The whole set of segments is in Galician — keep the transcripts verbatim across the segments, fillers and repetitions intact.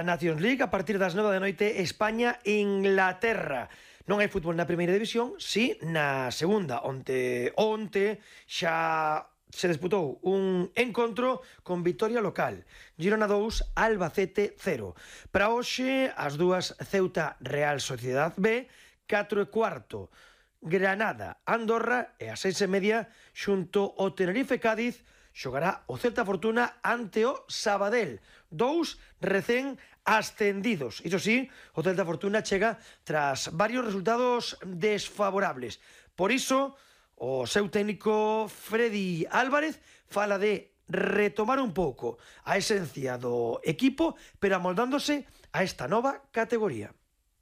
Nations League a partir das nove da noite, España-Inglaterra. Non hai fútbol na primeira división, si na segunda. Onte, onte xa se disputou un encontro con vitoria local. Girona dous, Albacete cero. Para hoxe, as dúas Ceuta Real Sociedad B, catro e cuarto. Granada, Andorra e a seis e media xunto o Tenerife Cádiz xogará o Celta Fortuna ante o Sabadell. Dous recén ascendidos. Iso sí, o Celta Fortuna chega tras varios resultados desfavorables. Por iso, o seu técnico Freddy Álvarez fala de retomar un pouco a esencia do equipo, pero amoldándose a esta nova categoría.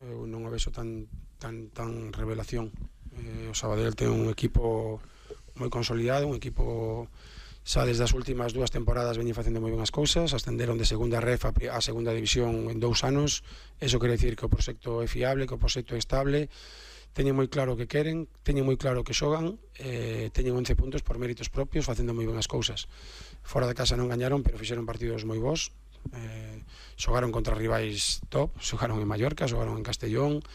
Eu non o vexo tan, tan, tan revelación. Eh, o Sabadell ten un equipo moi consolidado, un equipo xa desde as últimas dúas temporadas veñen facendo moi ben as cousas, ascenderon de segunda ref a segunda división en dous anos. Eso quere dicir que o proxecto é fiable, que o proxecto é estable, teñen moi claro o que queren, teñen moi claro o que xogan, eh, teñen once puntos por méritos propios, facendo moi ben as cousas. Fora de casa non gañaron, pero fixeron partidos moi bons, eh, xogaron contra rivais top, xogaron en Mallorca, xogaron en Castellón.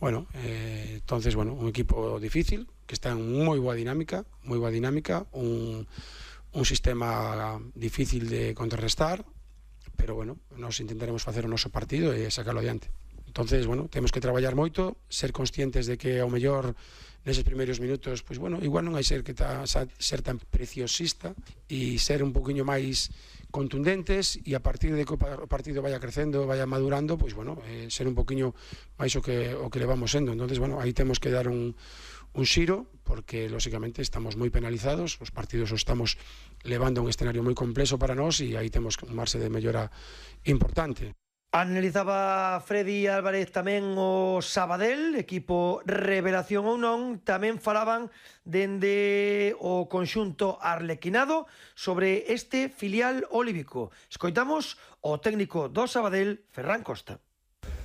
Bueno, eh, entonces, bueno, un equipo difícil, que está en moi boa dinámica, moi boa dinámica, un, un sistema difícil de contrarrestar, pero, bueno, nos intentaremos facer o noso partido e sacarlo adiante. Entonces, bueno, temos que traballar moito, ser conscientes de que ao mellor neses primeiros minutos, pois, bueno, igual non hai ser que ta, ser tan preciosista e ser un poquinho máis contundentes, e a partir de que o partido vaya crecendo, vaya madurando, pois, bueno, eh, ser un poquinho máis o que, o que levamos sendo. Entonces, bueno, aí temos que dar un, un xiro, porque, lóxicamente, estamos moi penalizados, os partidos os estamos levando a un escenario moi complexo para nós, e aí temos un marxe de mellora importante. Analizaba Freddy Álvarez tamén o Sabadell, equipo revelación ou non. Tamén falaban dende o conxunto arlequinado sobre este filial olívico. Escoitamos o técnico do Sabadell, Ferran Costa.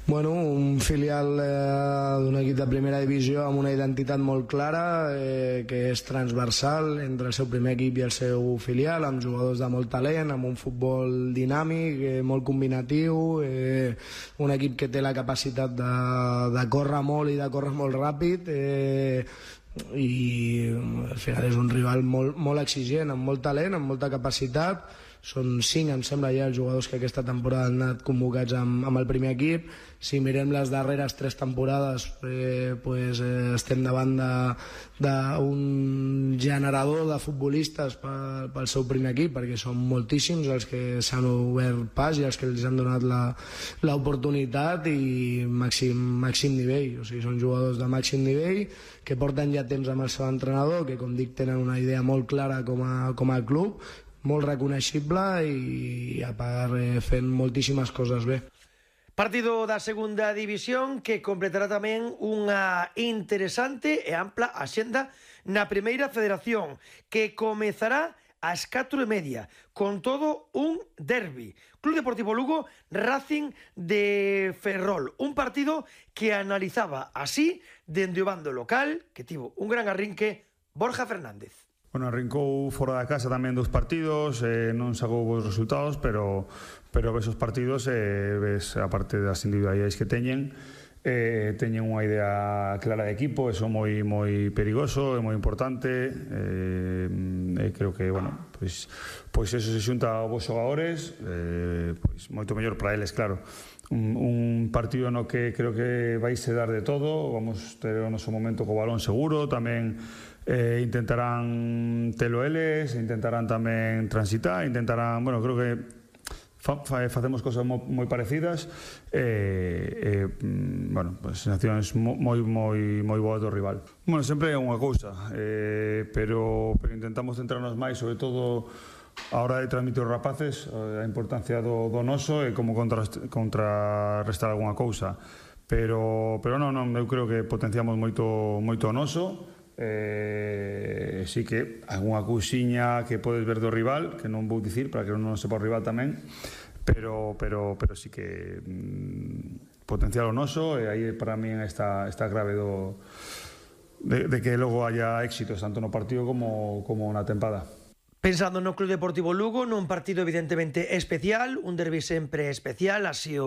Bueno, un filial eh, d'un equip de primera divisió amb una identitat molt clara, eh, que és transversal entre el seu primer equip i el seu filial, amb jugadors de molt talent, amb un futbol dinàmic, eh, molt combinatiu, eh, un equip que té la capacitat de, de córrer molt i de córrer molt ràpid, eh, i al final és un rival molt, molt exigent, amb molt talent, amb molta capacitat. Són cinc, em sembla, ja els jugadors que aquesta temporada han anat convocats amb, amb el primer equip. Si mirem les darreres tres temporades, eh, pues, eh, estem davant d'un generador de futbolistes pel, pel seu primer equip, perquè són moltíssims els que s'han obert pas i els que els han donat l'oportunitat, i màxim, màxim nivell. O sigui, són jugadors de màxim nivell que porten ja temps amb el seu entrenador, que, com dic, tenen una idea molt clara com a, com a club, molt reconeixible, i a part eh, fent moltíssimes coses bé. Partido da segunda división que completará tamén unha interesante e ampla axenda na primeira federación, que comezará ás catro e media, con todo un derbi. Club Deportivo Lugo, Racing de Ferrol. Un partido que analizaba así dende o bando local, que tivo un gran arrinque, Borja Fernández. Bueno, arrincou fora da casa tamén dos partidos, eh, non sacou bons resultados, pero, pero ves os partidos, eh, ves a parte das individualidades que teñen, eh, teñen unha idea clara de equipo, eso moi moi perigoso, é moi importante, eh, eh, creo que, bueno, pois, pois eso se xunta aos vos xogadores, eh, pois moito mellor para eles, claro. Un, un partido no que creo que vais a dar de todo, vamos ter o noso momento co balón seguro, tamén eh, intentarán telo eles, intentarán tamén transitar, intentarán, bueno, creo que fa, fa, facemos cosas mo, moi parecidas, e, eh, eh, bueno, pues, sensacións moi, moi, moi boas do rival. Bueno, sempre é unha cousa, eh, pero, pero intentamos centrarnos máis, sobre todo a hora de transmitir os rapaces, a importancia do, do noso e como contra, contrarrestar algunha cousa. Pero, pero non, non, eu creo que potenciamos moito, moito o noso. Eh, sí que algunha cousiña que podes ver do rival, que non vou dicir para que non sepa o rival tamén, pero, pero, pero sí que mm, potenciar o noso, e aí para mí está, está grave do, de, de que logo haya éxitos tanto no partido como, como na tempada. Pensando no Club Deportivo Lugo, nun partido evidentemente especial, un derbi sempre especial, así o